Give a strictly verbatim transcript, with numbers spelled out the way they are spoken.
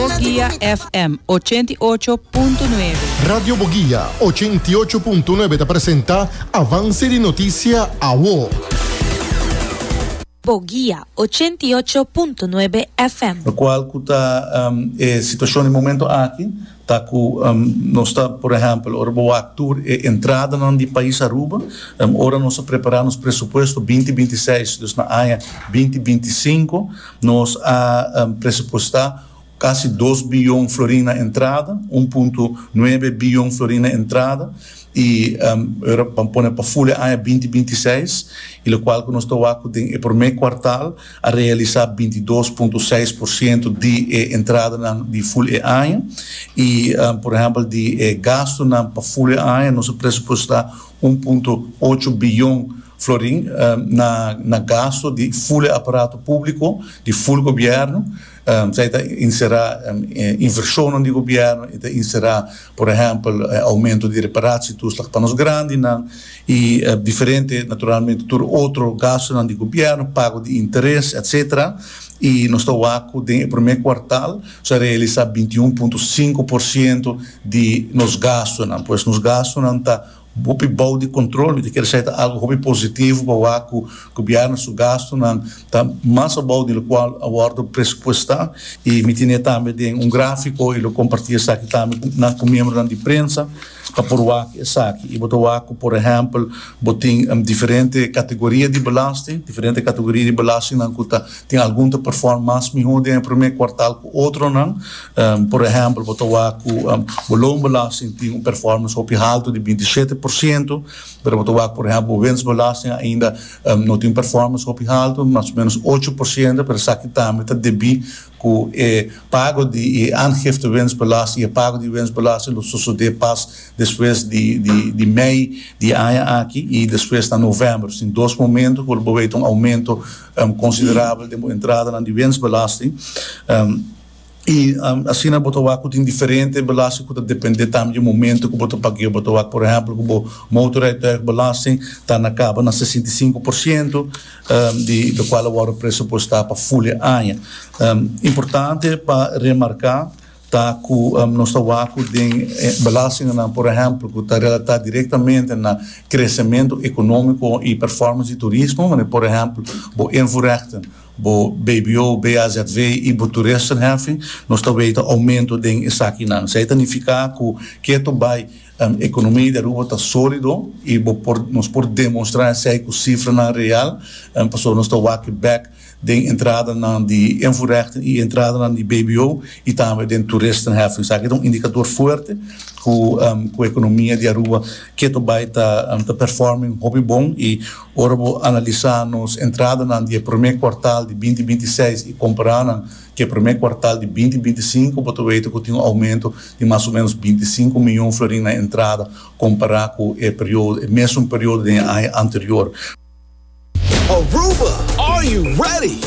Boguia F M ochenta i ocho punto nuebe. Radio Boguia ochenta i ocho punto nuebe ta presenta Avance di Noticia Awo. Boguia ochenta i ocho punto nuebe F M. Locual cu ta um, e situacion di momento aki, ta cu um, nos ta, por ehempel, ora bo wak tur e entradanan di pais Aruba, um, ora nos a prepara nos presupuesto dos mil binti seis, dus na aña dos mil binti cinco, nos a um, presupuesta casi dos biyon florin na entrada, un punto nuebe biyon florin na entrada, y um, ora pa pone pa full aña dos mil binti seis, y locual cu nos ta wak den e prome kwartaal a realisa bintidos punto seis porciento di eh, entradanan di full e aña y um, por ehempel, di eh, gastonan pa full aña nos a presupuesta un punto ocho biyon florin um, na, na gasto di full aparato publico, di full gobierno. Um, esey ta encera um, inversion di gobierno, ta encera, por ehempel, aumento di reparatietoeslag pa nos grandinan, y uh, diferente, naturalmente, tur otro gasto di gobierno, pago di interes, et cetera. Y nos ta wak den prome kwartaal a realisa bintiun punto cinco porciento di nos gastonan. Pues nos gastonan ta hopi bou di control, mi kier bisa algo hopi positivo pa wak cu gobierno su gastonan ta mas abou di locual a wordo presupuesta, y mi tin tambe un grafico y lo comparti esaki tambe na cu miembro di prensa pa por wak esaki. Y bo ta wak, por ehempel, bo tin um, diferente categoria di belasting, diferente categoria di belasting nan cu ta tin algun ta perform mas miho den prome kwartaal cu otronan. Um, por ehempel, bo ta wak um, loonbelasting tin un performance hopi halto di bintisete porciento, pero bo ta wak, por ehempel, winstbelasting ainda um, no tin performance hopi halto, mas o menos ocho porciento, pero esaki tambe ta debi cu e pago di aangifte winstbelasting, e pago di winstbelasting lo sucede pas despues di, di, di mei di aña aki y despues na november. Tin dos momento cu lo un aumento um, considerabel di entrada di winstbelasting. Um, y um, asina bo ta wak tin diferente belasting cu ta depende tambe di momento cu bo ta paga. Bo ta wak, por ehempel, cu motorrijtuigbelasting ta na caba na sesenta i cinco porciento um, di locual a wordo presupuesta pa full aña. Um, importante pa remarca ta cu um, nos ta wak den belasting, por ehempel, cu ta relata directamente na crecemento economico y performance di turismo, maar, por ehempel, bo invoerrechten, bo B B O, B A Z W y bo toeristenheffing, nos ta weten aumento den esakinan. Esey ta significa cu keto bay um, economia di Aruba ta solido y bo por, nos por demostra esey cu cifranan real, um, paso nos ta wak back den entradanan di invoerrechten y entradanan di B B O y tambe den toeristenheffing. Esaki ta un indicador fuerte cu um, cu e economia di Aruba keto bay ta, um, ta performing hopi bon, y ora bo analisa nos entradanan di prome kwartaal di dos mil binti seis y compara cu e prome kwartaal di dos mil binti cinco, bo ta weten cu tin un aumento di mas o menos binticinco miyon florin na entrada compara cu e periodo, e mesun periodo di aña anterior. Aruba, are you ready?